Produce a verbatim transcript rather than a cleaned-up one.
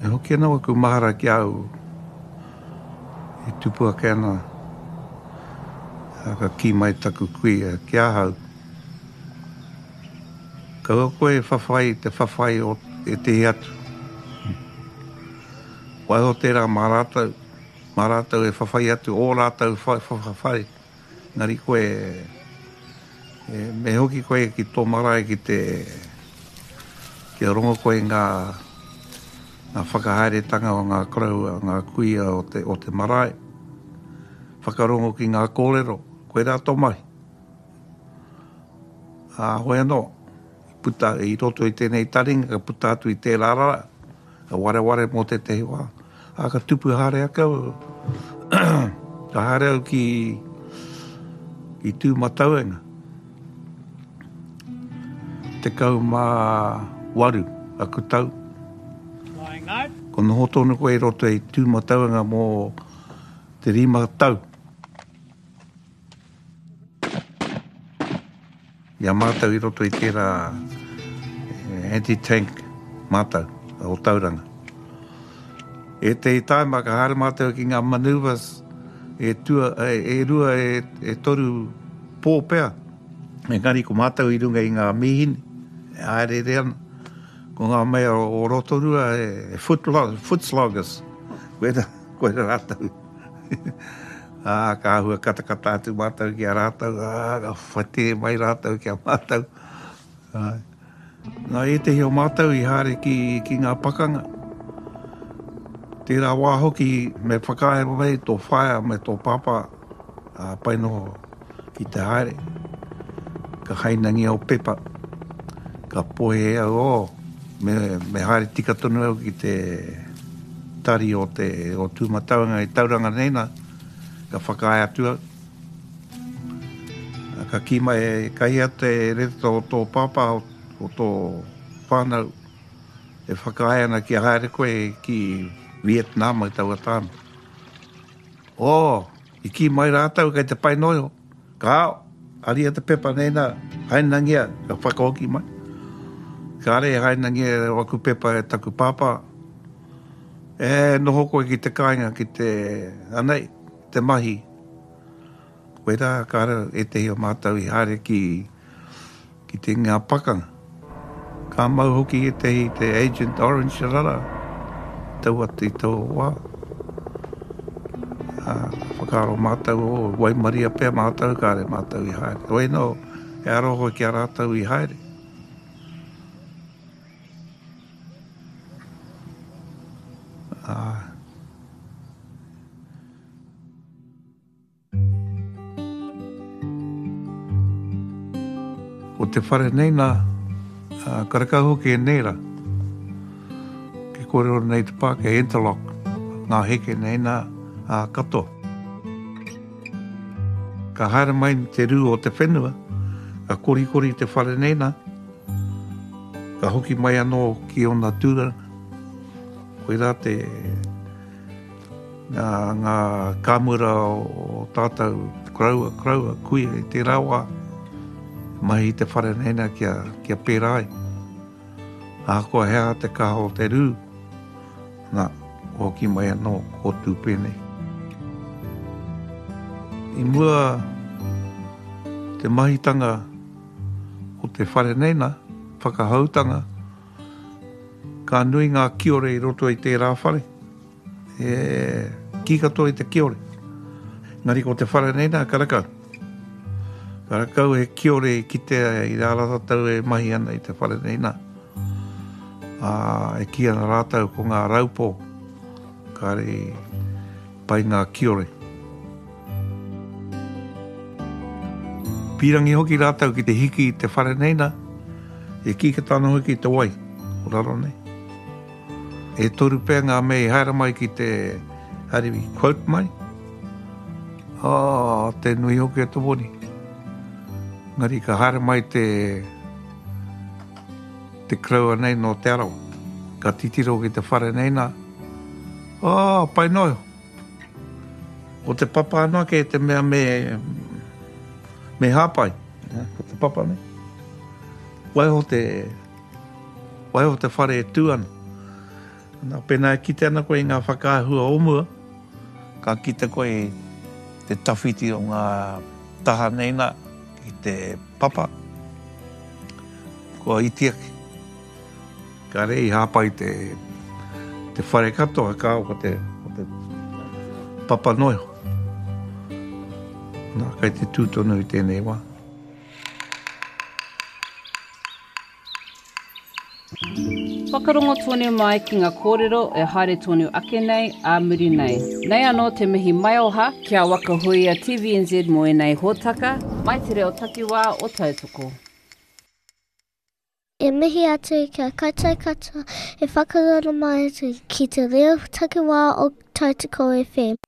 E hoki ana waku mahara ki au e tupu ake ana, ka kī mai taku kuia ki ahau. Kaua koe e whawhai i te whawhai o ētehi atu. Waiho tērā mā rātou, mā rātou e whawhai atu ō rātou whawhai. Engari koe, e, me hoki koe ki tō marae ki te, kia rongo koe ngā, ngā whakahaeretanga o ngā koroua, ngā kuia o te, o te marae. Whakarongo ki ngā kōrero, koirā tō mahi. Ā, hoi anō, i puta i roto i tēnei taringa, ka puta atu i tērā rā, ka wareware mō tētehi wā. Ā, ka tupu haere ake au, ka haere au ki, ki Tūmatauenga. Tekau mā waru aku tau. Ko noho tonu koe i roto i Tūmatauenga mō te rima tau. I a mātou i roto i tērā anti-tank mātou o Tauranga. Ētehi tāima ka haere mātou ki ngā manoeuvres e, tua, e, e rua, e, e toru pō pea. Engari ko mātou i runga i ngā mīhini, e haereere ana. Ko ngā mea o Rotorua e, e foot, foot sloggers. Koira, koira rātou. Ā, ka āhua katakata atu mātou ki a rātou, ā, ka whatē mai rātou ki a mātou. Ā, nā ētehi o mātou i haere ki, ki ngā pakanga. Tērā wā hoki me whakaae mai tō whaea me tō pāpā, ā, pai noho ki te haere. Ka hainangia o pepa, ka pohe au, oh, me, me haere tika tonu au ki te tari o te o Tūmatauenga i Tauranga nei nā, ka whakaae atu au. Ka kī mai, ka hia te reta o tō pāpā, o, o tō whānau, e whakaae ana kia haere koe ki Vietnam i taua tāna. Oh, i kī mai rātou kei te pai noa iho. Ka ao, aria te pepa nei nā, hainangia, ka whakahoki mai. Kāre e hainangia waku pepa e taku pāpā. E noho koe ki te kāinga, ki te, anei, te mahi. Koirā kāre ētehi o mātou i haere ki, ki te ngā pakanga. Ka mau hoki ētehi te Agent Orange rara, taua i taua wā. Ā, whakaaro mātou, oh, waimaria pea mātou, kāre mātou i haere. Hoi anō, e aroha ki a rātou i haere. Ā, Ko te whare nei nā, karekau hoki e nēra. Ke kōrero nei te Pākehā, interlock, ngā heke nei nā, ā, katoa. Ka haere mai te rū o te whenua, ka korikori te whare nei nā, ka hoki mai anō ki ōna tūranga. Koirā te, ngā, ngā kāmura o tātou koroua, koroua, kuia i tērā wā, mahi i te whare nei nā kia, kia pērā ai. Ahakoa he aha te kaha o te rū, nā, hoki mai anō, ko tū pēnei. I mua te mahitanga o te whare nei nā, whakahoutanga, ka nui ngā kiore i roto i tērā whare. E kī katoa i te kiore. Engari ko te whare nei nā, karekau. Karekau he kiore i kitea i rā rātou e mahi ana i te whare nei nā. Ā, e kī ana rātou ko ngā raupō, kāre i pai ngā kiore. Pīrangi hoki rātou ki te hiki i te whare nei nā, e kī katoa ana hoki i te wai o raro nei. E toru pea ngā mea i haere mai ki te hari quote mai. Oh, te nui hoki o te moni. Engari ka haere mai te te koroua nei nō Te Arawa. Ka titiro ki te whare nei nā. Oh, pai noa iho. Ko te papa anake te mea me, me hāpai. Ko te papa nei. Waiho te, Waiho te whare e tū ana. Nā, pēnā e kite ana koe i ngā whakaahua o mua, ka kite koe i te tawhiti o ngā taha nei nā ki te papa, kua iti ake. Kāre i hāpai te, te whare katoa, kāo ko te, ko te papa noa iho. Nā, kei te tū tonu i tēnei wā. Whakarongo tonu mai ki ngā kōrero e haere tonu ake nei, ā muri nei. Nei anō te mihi maioha ki a Waka Huia T V N Z mō ēnei hōtaka, mai te reo takiwā o Tautoko. E mihi atu ki a koutou katoa e whakarongo mai ki te reo takiwā o Tautoko F M.